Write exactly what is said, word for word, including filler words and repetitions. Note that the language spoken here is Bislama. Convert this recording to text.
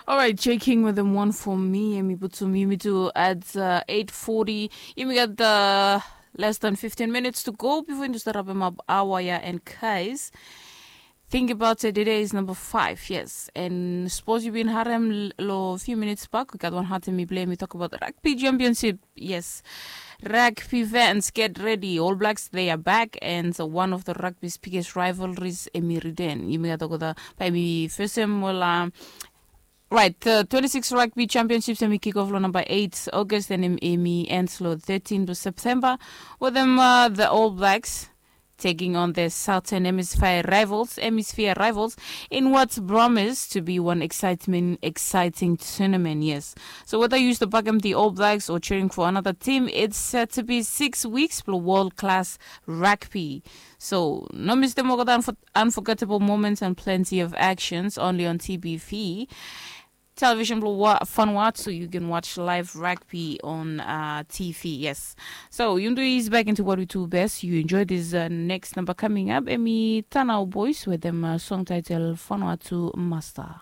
Alright, checking with them one for me. Emi putum yumi tu at uh, eight forty. Yumi got the less than fifteen minutes to go before yumi start up my hour ya and guys. Think about it, today is number five, yes. And suppose you've been harem lo few minutes back, we got one heart and me blame. We talk about the rugby championship, yes. Rugby fans, get ready. All Blacks, they are back, and one of the rugby's biggest rivalries, Emi Riden. Yumi got to go the by me first, well, um, Right, the twenty-six Rugby Championships emi kick off lo number eight August and emi ends lo thirteen September. With them, uh, the All Blacks taking on their Southern Hemisphere rivals, Hemisphere rivals, in what's promised to be one excitement, exciting tournament. Yes. So whether you used to back them the All Blacks or cheering for another team, it's set to be six weeks for world-class rugby. So no miss the Mogoda unforgettable moments and plenty of actions only on T B V. Television blue Vanuatu, you can watch live rugby on uh, T V, yes. So you do is back into what we do best. You enjoy this uh, next number coming up. Emi Tanao Boys with them uh, song title Vanuatu Master.